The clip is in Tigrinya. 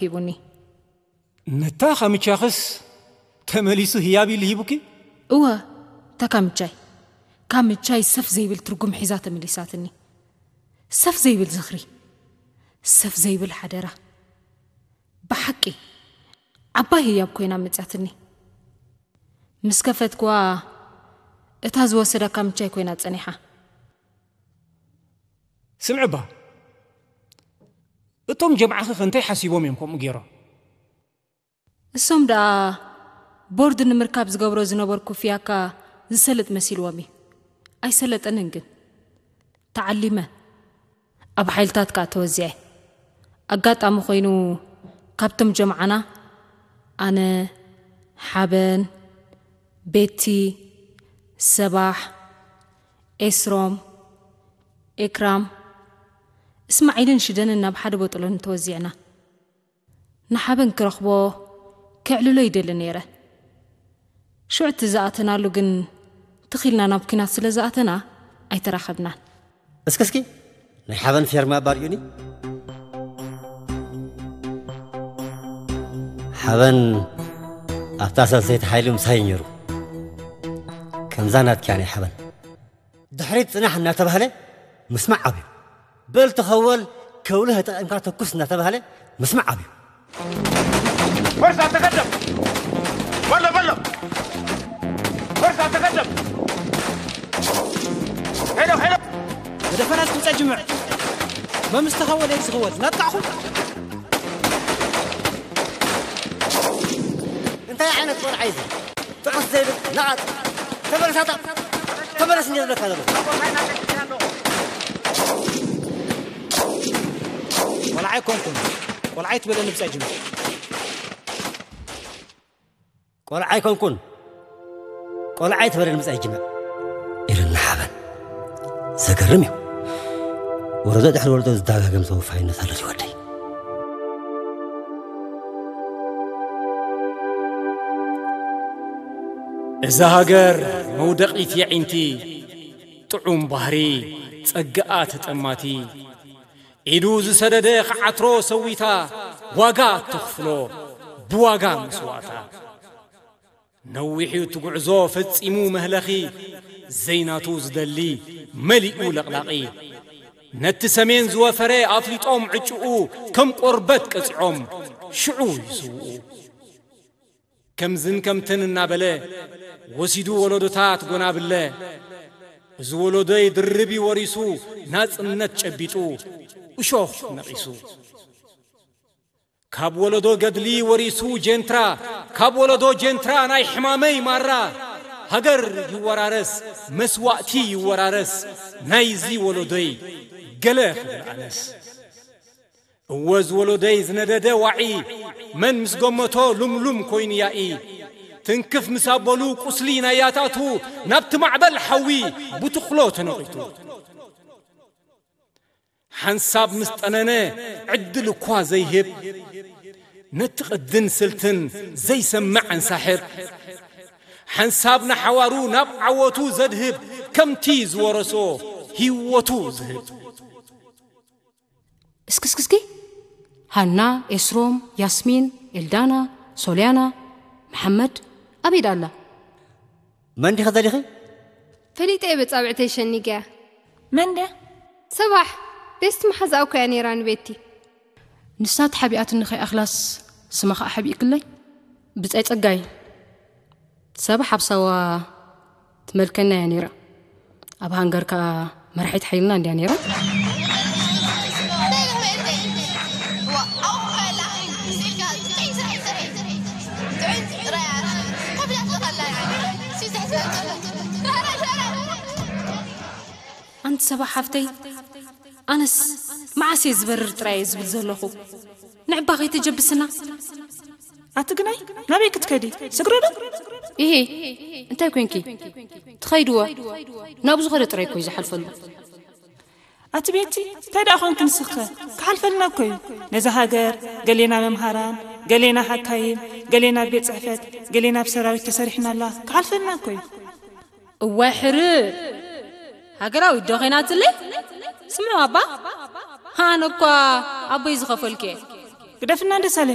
ሂቡኒ። ነታ ካምቻኽስ ተመሊሱ ህያብ ኢሉ ሂቡኪ? እወ፣ እታ ካምቻይ፣ ካምቻይ ሰፍ ዘይብል ትርጉም ሒዛ ተመሊሳትኒ። ሰፍ ዘይብል ዝኽሪ፣ ሰፍ ዘይብል ሓደራ። ብሓቂ ዓባይ ህያብ ኮይና መጽያትኒ። ምስ ከፈትኩዋ፣ እታ ዝወሰዳ ካምቻይ ኮይና ጸኒሓ። ስምዕባ፣ እቶም ጀምዓኺ ከ እንታይ ሓሲቦም እዮም ከምኡ ገይሮም? እሶም ደኣ ቦርድ ንምርካብ ዝገብሮ ዝነበርኩ ፍያካ ዝሰልጥ መሲልዎም እዩ። ኣይሰለጠንን ግን። ተዓሊመ። ኣብ ሓይልታት ከኣ ተወዚዐ። ኣጋጣሚ ኮይኑ ካብቶም ጀምዓና ኣነ፣ ሓበን፣ ቤቲ፣ ሰባሕ፣ ኤስሮም፣ ኤክራም፣ እስማዒልን ሽደንን ናብ ሓደ ቦጥሎን ተወዚዕና። ንሓበን ክረኽቦ ከዕልሎ ይደሊ ነይረ። ሽዑ እቲ ዝኣተናሉ ግን ትኺልና ናብ ኲናት ስለ ዝኣተና ኣይተራኸብናን። እስኪ እስኪ ናይ ሓበን ፌርማ ባርዩኒ። ሓበን ኣብታ ሰልሰይቲ ሓይሊ ምሳይ ነይሩ። ከምዛ ናትኪያ ናይ ሓበን ድሕሪት ጽናሕ እናተባህለ ምስማዕ ኣብዩ። በል ተኸወል ከውሊ ተጠቒምካ ተኩስ እናተባህለ ምስማዕ ኣብዩ። فرصة تقدم. بلو بلو. فرصة تقدم. حلو حلو. ብደፈናት ክምፀ ጅምዕ መምስ ተኸወለ እዩ ዝኽወል ናጥቃዕኹም። እንታይ ዓይነት ቆልዓ እዩ እዚ? ጥዑስ ዘይብል ነቓጽ። ተመለሳታ። ተመለስ እንደ ዝብለካ ዘሎ። ቆልዓ ኣይኮንኩን። ቆልዓ ኣይትበለኒ ብፃይ ጅምዕ። ቆልዓ ኣይኮንኩን። ቆልዓ ኣይትበለኒ ብፃይ ጅምዕ። ኢሉና ሓበን። ዘገርም እዩ። ወለዶ ድሕሪ ወለዶ ዝደጋገም ተወፋይነት ኣሎ እዩ ወደይ። እዛ ሃገር መውደቒት የዒንቲ፣ ጥዑም ባህሪ፣ ጸግኣ ተጠማቲ፣ ኢዱ ዝሰደደ ክዓትሮ ሰዊታ፣ ዋጋ ተኽፍሎ ብዋጋ መስዋእታ። ነዊሑ እቲ ጉዕዞ ፈጺሙ መህለኺ፣ ዘይናቱ ዝደሊ መሊኡ ለቕላቒ። ነቲ ሰሜን ዝወፈረ ኣፍሊጦም ዕጭኡ፣ ከም ቆርበት ቀጺዖም ሽዑ ይስውኡ። ከምዝን ከምትን እናበለ ወሲዱ ወለዶታት ጎናብለ። እዚ ወለዶይ ድርብ እዩ ወሪሱ ናጽነት ጨቢጡ እሾኽ ነቒሱ። ካብ ወለዶ ገድሊ ወሪሱ ጀንትራ፣ ካብ ወለዶ ጀንትራ ናይ ሕማመይ ማራ። ሃገር ይወራረስ መስዋእቲ ይወራረስ ናይዚ ወለዶይ ገለ ክብል ኣነስ። እወ ዝወለዶይ ዝነደደ ዋዒ መን ምስ ገመቶ ሉምሉም ኮይኑ ያኢ። ትንክፍ ምስ ኣበሉ ቁስሊ ናይ ያታቱ ናብቲ ማዕበል ሓዊ ብትኽሎ ተነቒቱ። ሓንሳብ ምስ ጠነነ ዕድል እኳ ዘይህብ ነቲ ቅድን ስልትን ዘይሰምዕ ኣንሳሕብ። ሓንሳብ ንሓዋሩ ናብ ዓወቱ ዘድህብ ከምቲ ዝወረሶ ህይወቱ ዝህብ። እስክስክስኪ ሃና፣ ኤስሮም፣ ያስሚን፣ ኤልዳና፣ ሶልያና፣ መሓመድ ኣበይ ደኣ ኣላ? መን ዲኺ ዘሊኺ? ፈሊጠ እየ በጻብዕተይ ሸኒገያ። መን ድያ? ሰባሕ ቤስት መሓዛኣ እኮ እያ ነይራ ንቤቲ። ንሳ ተሓቢኣትኒ ከይኣኽላስ ስማ ኸኣ ሓቢእክለይ። ብጻይ ጸጋይ ሰብ ሓብሳዋ ትመልከና እያ ነይራ። ኣብ ሃንገር ከኣ መራሒት ሓይልና እንድያ ነይራ። ኣንቲ ሰባ ሓፍተይ፣ ኣነስ መዓስ እየ ዝበርር ጥራይ እየ ዝብል ዘለኹ። ንዕባ ከይተጀብስና። ኣቲ ግናይ ናበይ ክትከዲ? ስግሪ ዶ? ኢሄ እንታይ ኮንኪ? ትኸይድወ ናብኡ ዝኸደ ጥራይ እኮ እዩ ዝሓልፈሉ። ኣቲ ቤቲ እንታይ ደኣ ኮንኪ ንስኸ? ክሓልፈልና እኮ እዩ። ነዛ ሃገር ገሌና መምሃራን፣ ገሌና ሓካይም፣ ገሌና ኣብ ቤት ጽሕፈት፣ ገሌና ኣብ ሰራዊት ተሰሪሕና ኣለዋ። ክሓልፈልና እኮ እዩ። እዋይ ሕርእ ሃገራዊት ዶ ኸይናትለይ? ስምዑ ኣባ፣ ኣነ እኳ ኣቦይ ዝኸፈልኩ እየ። ግደፍና ደሳለ።